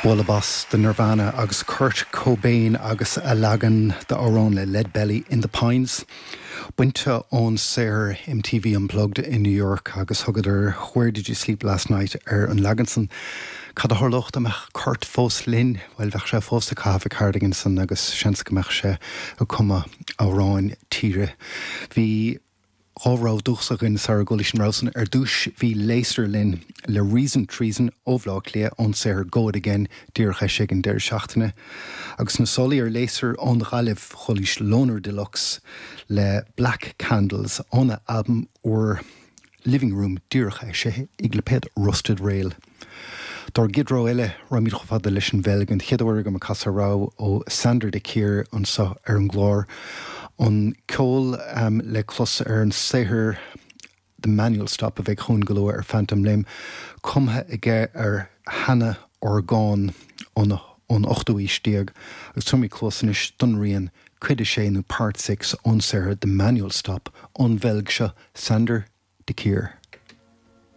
Bualadh bas do Nirvana agus Kurt Cobain agus a leagan d'amhrán le Lead Belly, In the Pines. Bainte ón saothar MTV Unplugged in New York agus thugadar Where Did You Sleep Last Night ar an leagan san. Cad a tharlódh dá mbeadh Kurt fós linn? Bhuel, bheadh sé fós ag caitheamh a cardigan san agus seans go mbeadh sé ag cumadh amhráin tíre. Bhí. 2 rogha dúchasach againn sara gcualaís an rogha san. Ar dtúis bhí Léasair linn le Reason Treason ó Bhleá Cliath ón saothar Go It Again díreach eisithe ag an deireadh seachtaine. Agus sna sálaí ar Léasair ón Ghaillimh chualaís Loner Deluxe le Black Candles óna albam úr Living Room díreach eisithe ag lipéad Rusted Rail. Dár gcéad rogha eile, raghaimid chomh fada leis an Bheilg, an chéad uair agam ag casadh rogha ó Sander de Keer anseo ar an gclár. An ceol le clos ar an saothar The Manual Stop a bheidh chugainn go luath ar Phantom Limb, cumtha aige ar sheana-orgán ón ochtú aois déag, agus tabharfaimid cluas anois don rian Cuid 6 nó Part 6 ón saothar The Manual Stop ón Bheilg seo, Sander de Keer.